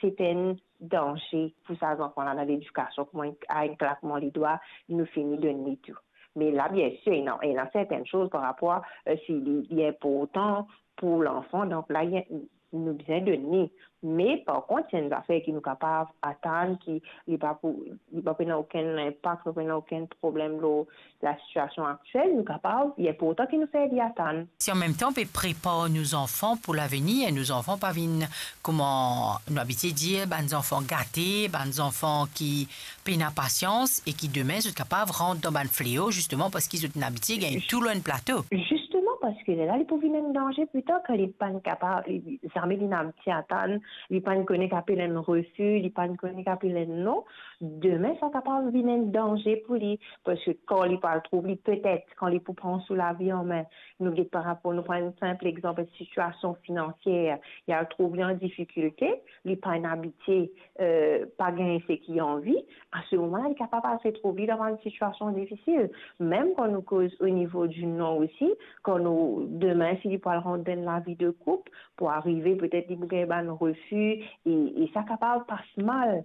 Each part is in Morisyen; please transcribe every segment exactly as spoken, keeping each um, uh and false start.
se enn danze pou sa zanfan la dan ledikasion, kouma enn, a enn klakman ledwa, nou fini donn li tou. Me la, biensir, ena, ena sertenn soz par rapor, eh, si li, li inportan pou lanfan, donk la, li, nou bizin donn li. Me par kont, si enn zafer ki nou kapav atann, ki li pa pou, li pa pou ena okenn linpak, pa pou ena okenn problem lor lasitiasion aktiel, nou kapav, li inportan ki nou fer li atann. Si an mem tan, pe prepar nou zanfan pou lavenir, nou zanfan pa vinn, kouma nou abitie dir, bann zanfan gate, bann zanfan ki pena pasians e ki demin zot kapav rant dan bann fleo, zisteman parski zot inn abitie gagn tou lor enn plato. Zisteman, parski lerla li pou vinn enn danze pli tar, kan li pa'nn kapav, li, zame li inn abitie atann, li pa'nn kone ki apel enn refi, li pa'nn kone ki apel enn non. Demin, sa kapav vinn enn danze pou li, parski kan li pou al trouv li, petet, kan li pou pran so lavi an me, nou get par rapor, nou pran enn sinp lexanp, enn sitiasion finansier, li al trouv li an difikilte, li pa'nn abitie, eh, pa gagn seki li anvi, a se moman la, li kapav al retrouv li dan enn sitiasion difisil. Mem kan nou koz o nivo di non osi, kan nou, demin, si li pou al rant dan enn lavi de koup, pou arive, petet li pou gagn bann refi, e, e sa kapav pas mal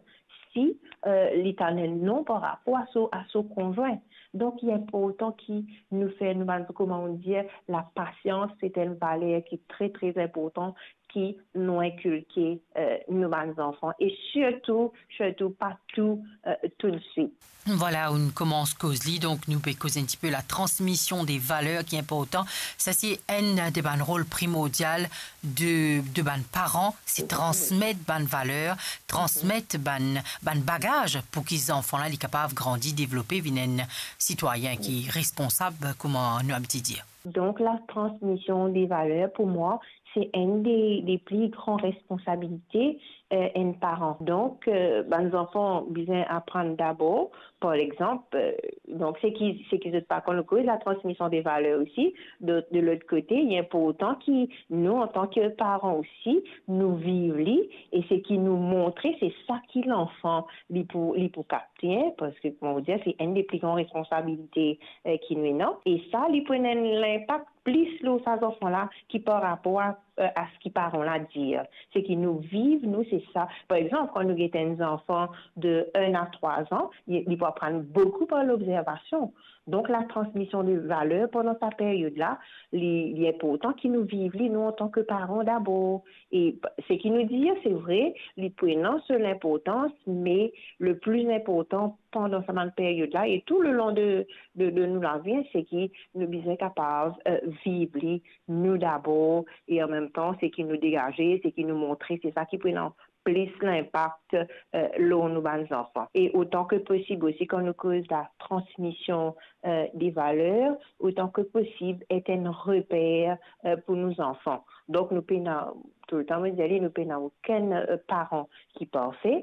si, eh, li tann enn non par rapor a so, a so konzwin. Donk, li inportan ki nou fer nou bann, kouma nou dir, lapasians, se enn valer ki tre, tre inportan ki nou inkilke, eh, nou bann zanfan, e sirtou, sirtou pa tou, eh, toutswit. Vwala, ou'nn koumans koz li, donk nou pe koz enn tipe latransmision de valer ki inportan. Sa se enn de bann rol primordial de, de bann paran, se transmet bann valer, transmet bann, bann bagaz pou ki zanfan la li kapav grandi, devlope, vinn enn sitwayin ki responsab, kouma nou abitie dir. Donk, latransmision de valer, pou mwa, se enn de, de pli gran responsabilite, eh, enn paran. Donk, eh, bann zanfan bizin aprann dabor, par lexanp, eh, donk, seki, seki zot pa konn, nou koz latransmision de valer osi, de, de lot kote, li inportan ki nou, antan ki paran osi, nou viv li, e seki nou montre, se sa ki lanfan, li pou, li pou kapte, parski, kouma nou dir, se enn de pli gran responsabilite, eh, ki nou ena. E sa, li pou ena enn linpak plis lor sa zanfan la ki par rapor a, eh, a seki paran la dir. Seki nou viv, nou, se sa. Par exanp, kan nou get enn zanfan de enn a trwa an, li, li pou aprann boukou par lobzervasion. Donk, latransmision de valer pandan sa peryod la, li, li inportan ki nou viv li, nou, antan ki paran dabor. E seki nou dir, se vre, li pou ena so linportans, me le pli inportan pandan sa bann peryod la e tou le lon de, de, de nou lavi, seki nou bizin kapav, eh, viv li, nou dabor, e an mem tan, seki nou degaze, seki nou montre, se sa ki pou ena plis linpak, eh, lor nou bann zanfan. E otan ki posib osi, kan nou koz latransmision, eh, de valer, otan ki posib, et enn reper, eh, pou nou zanfan. Donk, nou pena, toultan mo dir li, nou pena okenn, eh, paran ki parfe,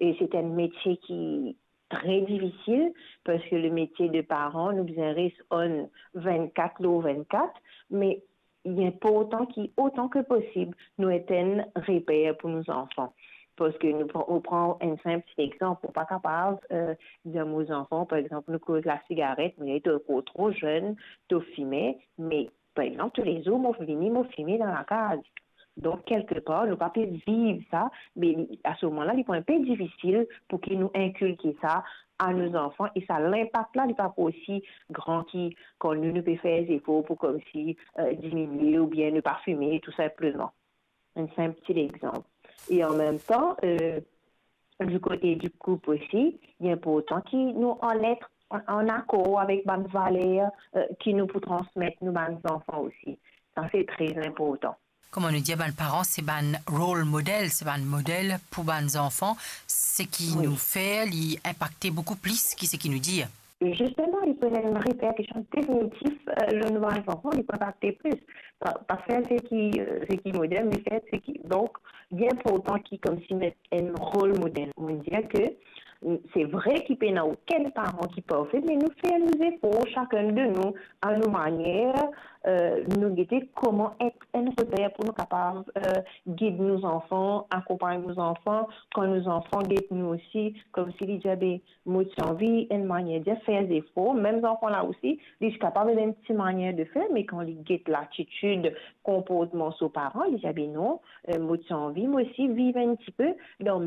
e se enn metie ki tre difisil, parski le metie de paran, nou bizin res on vennkat lor vennkat, me li inportan ki, otan ki posib, nou et enn reper pou nou zanfan. Parski nou pran, nou pran enn sinp ti lexanp, ou pa kapav, eh, dir mo zanfan, par exanp, nou koz lasigaret, me to ankor tro zenn, to fime, me, par exanp, toulezour, mo vini, mo fime dan lakaz. Donk, kelkepar, nou pa pe viv sa, me li, a se moman la, li pou enpe difisil pou ki nou inkilke sa a nou zanfan, e sa linpak la, li pa pou osi gran ki kan nou, nou pe fer zefor pou koumsi, eh, diminie oubien ne pa fime, tou sinpleman. Enn sinp ti lexanp. E an mem tan, eh, di kote di koup osi, li inportan ki nou an et an, an akor avek bann valer, eh, ki nou pou transmet nou bann zanfan osi. Sa, se tre inportan. Kouma nou dir, bann paran, se bann role model, se bann model pou bann zanfan. Seki nou fer, li inpakte boukou plis ki seki nou dir. Zisteman, li pou ena enn reperkision definitif, eh, lor nou bann zanfan, li pou inpakte plis. Pa, pa fer seki, eh, seki model, me fer seki. Donk, li inportan ki koumsi met enn role model. Mo dir ke Se vre ki pena okenn paran ki parfe, me nou fer nou zefor, sakenn de nou, a nou manier, eh, nou gete koman et enn reper pou nou kapav, eh, gid nou zanfan, akonpagn nou zanfan, kan nou zanfan get nou osi, koumsi li dir, be, mo ti anvi enn manier de fer zefor, mem zanfan la osi, li ti kapav ena enn ti manier de fer, me kan li get latitid, konportman so paran, li dir, be non, eh, mo ti anvi, mo osi, viv enn tipe dan